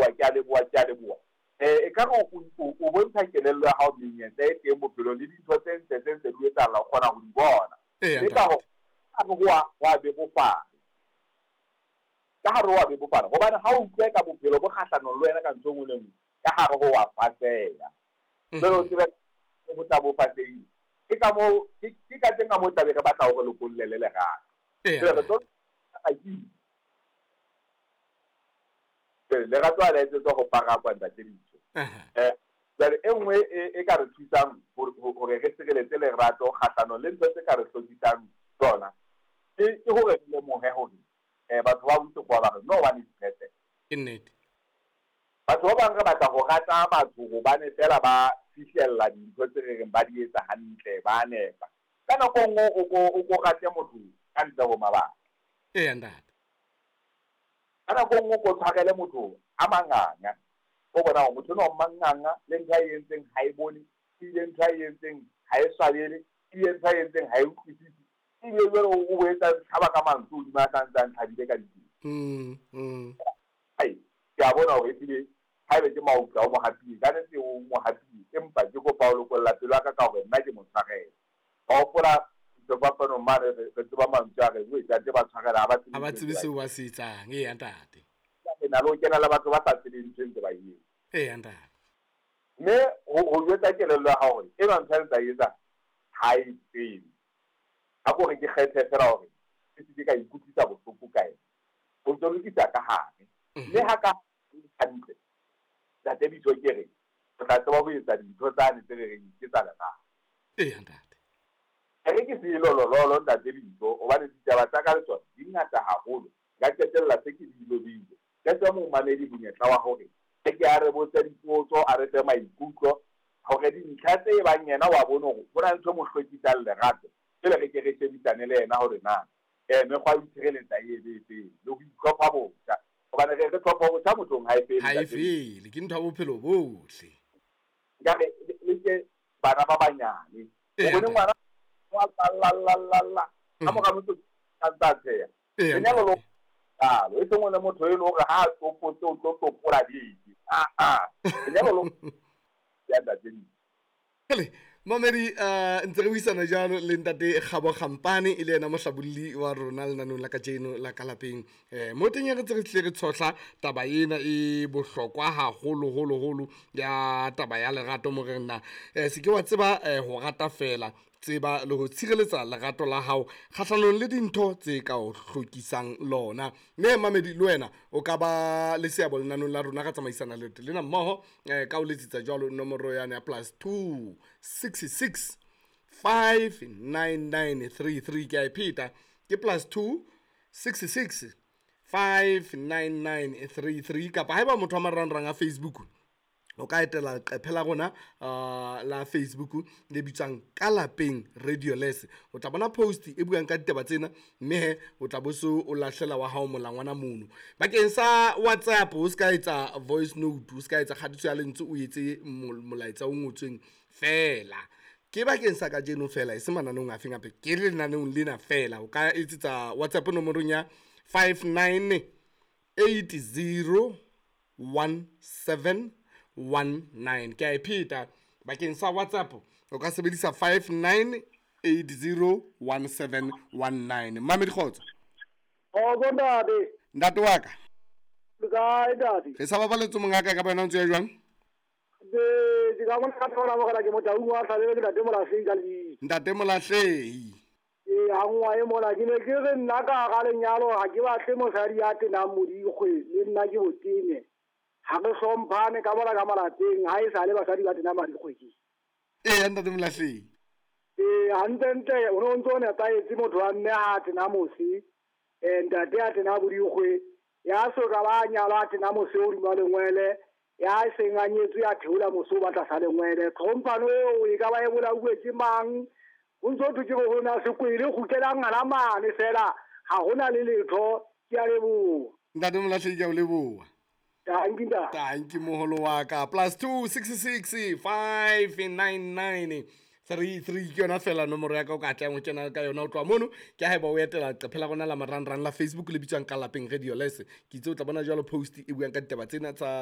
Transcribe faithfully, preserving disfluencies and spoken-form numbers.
leboha, ke a leboha, ke a leboha. Eh, e ka re o o bontsha kelello ya hao menyetla e teng bophelong le dintho tse ntle tse ntse di etsahala, o kgona ho di bona. Eya, Mme ka ntate. ho ka hare ho a ho a bebofala. Ka hare ho a bebofala hobane ha o utlwe ka bophelo bo kgahlanong le wena ka ntho e nngwe le nngwe, ka hare ho wa faseha. Jwale o tsebe ho tla bo fasehile. Ke ka moo ke ke ka teng ka moo tlabe re batla hore lokolle le lerato. Eya, Jwale re ntate. tlo lerato ha le etsetswa ho parakwa, ntate Ditso. Aha. Eh, jwale e nngwe e e ka re thusang hore hore re sireletse lerato kgahlanong le ntho tse ka re hlokisang tsona, ke ke hore re lemohe hore eh batho ba botse ba re no one is perfect. Ke nnete. Batho ba bang re batla ho rata batho hobane feela ba fihlella dintho tse re reng ba di etsa hantle, ba nepa. Ka nako e nngwe o ko o ko rate motho ka ntle ho mabaka. Eya, ntate. Ka nako e nngwe o ko tshwarele motho a manganga. O bona hore motho enwa o manganga, le ntho ae entseng ha e bone, ebile ntho ae entseng ha e swabele, ebile ntho ae entseng ha e utlwisise. Ebile jwale o o etsa tlhaba ka mantswe hodima a sa ntse a ntlhabile ka ditsela. Mm, mm. Ai, ke a bona hore ehlile haebe ke mautla o mo hapile, ka nnete o mo hapile, empa ke kopa ho lokolla pelo ya ka ka hore nna ke mo tshwarele. Wa hopola sefapanong mane re re tseba mantswe a reng, ntate ba tshwarela ha ba tsebe Ha ba ntho tsebe tse ba seo ba se etsang. Eya, ntate. Re na le ho kena le batho ba sa tsebeng ntho e ntse ba e etsa. Eya, ntate. Mme ho ho jwetsa kelello ya hao hore enwa ntho a ntsa e etsa ha e tsebe. Ha ko re ke kgethe feela hore ke se ke ka ikutlwisa bohloko ka ena. O ntso lokisa ka hare. Mme ha ka hantle, ntate Bitso ke re, o tla tseba ho etsa dintho tsane tse re reng ke tsa lerato. Eya, ntate. E re ke se lolololo, ntate Bitso, hobane ditaba tsa ka le tsona di ngata haholo. Nka qetella se ke di lobile. Ke fe momamedi monyetla wa hore e ke a re botse dipotso, a re fe maikutlo hore dintlha tse bang yena wa bone hore ho na le ntho e mo hlwekisang lerato. Pele re ke re shebisane le yena hore na eh mekgwa ya ho itshireletsa e be efeng le ho itlhopha botjha. Hobane re re tlhopha botjha mothong ha e fele, Ha e ntate Bitso. fele, ke ntho ya bophelo bohle. Nkare le ke bana ba banyane. O Eya, bone ntate. ngwana wa lla lla lla lla. Ka mora motho a ntsa tsheha. Eya, Lenyalo lo ntate. jwalo, e seng o le motho e leng hore ha a tsopotse o tlo tsopola dike. Ah ah. Lenyalo lo ya ntate Bitso. Hele, mamedi, uh, ntse re buisana jalo le ntate Kgabo Kgampane, e le yena mohlabolli wa rona lenaneng la kajeno la ka lapeng. Eh, mo teng re ntse re tlile re tshohla taba ena e bohlokwa haholo holo holo ya taba ya lerato mo re nna. Eh, se ke wa tseba eh, ho rata fela, tseba le ho tshireletsa lerato la hao kgahlanong le dintho tse ka o hlokisang lona. Mme mamedi le wena o ka ba le seabo lenaneng la rona ka tsamaisana leeto lena mmoho, eh, ka o letsetsa jwalo nomoro yane ya plus two six six five nine nine three three. Ke a e pheta, ke plus two six six five nine nine three three. Kapa haeba motho wa marangrang a Facebook, o ka etela leqephe la rona uh, la Facebook le bitswang Ka Lapeng Radio Les. O tla bona post e buang ka ditaba tsena, mme he o tla bo so o lahlela wa hao molangwana mono. Bakeng sa WhatsApp, o ska etsa voice note, o ska etsa kgatiso ya lentswe, o etse molaetsa o ngotsweng fela. Ke bakeng sa kajeno fela, e se mananeong a feng hape, ke lenaneong lena fela. O ka etsetsa WhatsApp nomorong ya five nine eight zero one seven one nine. Ke a e pheta, bakeng sa WhatsApp o ka sebedisa five nine eight zero one seven one nine. Mamedi kgotso. Kgotso ntate. Ntate wa ka. Le kae ntate? Re sa babaletse mongaka ka bona o ntse ya jwang? Ke ke ka mona ka thola mogala ke Motaung wa Tlhalele, ke ntate Molahlehi ka lebitso. Ntate Molahlehi. Ee, ha nngwa e mona ke ne ke re nna ka hara lenyalo ha ke batle mosadi ya tenang modikgwe, le nna ke botene. Ha re hlomphane ka mona ka malapeng, ha e sale basadi ba tena madikgwe ke. Ee, ntate Molahlehi. Ee, hantlentle o ne o ntso o nepahetse motho wa mme ha a tena mose, eh, ntate a tena bodikgwe, ya soka ba nyalwa a tena mose o hodima lengwele, ya seng a nyetswe ya theola mose o batla sa lengwele. Tlhomphano eo e ka ba e bolauwe ke mang? Ho ntso thwe ke ho na sekwele, kgutlelang ngwana mane fela, ha hona le letho. Ke a leboha. Ntate Molahlehi, ke a o leboha. Tanki ntate. Tanki moholo wa ka. Plus two six six five nine nine three three ke yona fela nomoro ya ka o ka tlang ho kena ka yona ho tloha mono. Ke haeba o etela leqephe la rona la marangrang la Facebook le bitswang Ka Lapeng Radio Les. Ke itse o tla bona jwalo post e buang ka ditaba tsena tsa